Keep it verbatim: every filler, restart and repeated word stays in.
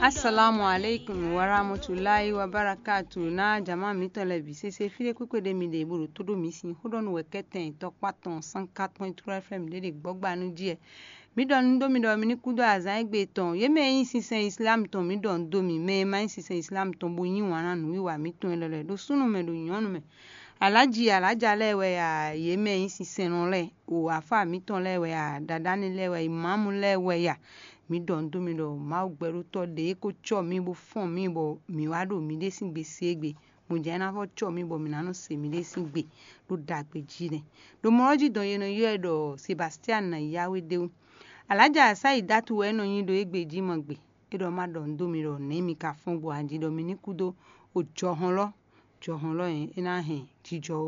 Assalamu alaikum warahmatullahi wabarakatuh. Na jama mǐtɔn lɛ́ɛ bǐ sésé fí ɖé kpékpé ɖé mi ɖe bó ɖo tó ɖó mǐ sín xó ɖɔ nú wɛ kɛ́tɛn tɔkpá tɔn cent quatre point trois F M ɖé ɖe gbɔ́gba nú jí wɛ. Mǐ ɖɔ nǔ dó mi ɖɔ mi ní kú dó azǎn égbé tɔn. Yě mɛ e nyí sinsɛn Islam tɔn, mǐ ɖɔ nǔ dó mi. Mɛ e ma nyí sinsɛn Islam tɔn bó yí wǎn ná nǔwiwa mǐtɔn élɔ́ lɛ́ɛ, ɖo súnnu mɛ, ɖo nyɔ̌nu mɛ, alǎji alǎja lɛ́ɛ wɛ a, yě mɛ e nyí sinsɛnnɔ lɛ́ɛ, o afá mǐtɔn lɛ́ɛ wɛ a, ɖaɖáni lɛ́ɛ wɛ, imamu lɛ́ɛ wɛ a. Mǐ ɖɔ nǔ dó mi ɖɔ Mawu gbɛɖótɔ́ ɖě ko cɔ́ mǐ bó fɔ́n mǐ bɔ mǐ wá ɖo miɖée sín gbe se égbé. Mɔ̌ jɛ́n é ná vɔ́ cɔ́ mǐ bɔ mǐ ná nɔ se miɖée sín gbe ɖo ɖagbe jí nɛ́. Ɖo mɔ̌ ɔ́ jí dɔn è nɔ ylɔ́ ɛ ɖɔ Sebastian ná yá wé d'é wú. Alǎja Saidatu wɛ é nɔ nyí ɖo égbé jí mɔ gbe. É ɖɔ má ɖɔ nǔ dó mi ɖɔ nɛ̌ mi ka fɔ́n gbɔn ají ɖɔ mi ní kú dó o jɔhɔnlɔ́, jɔhɔnlɔ́ e é ná hɛn jijɔ wá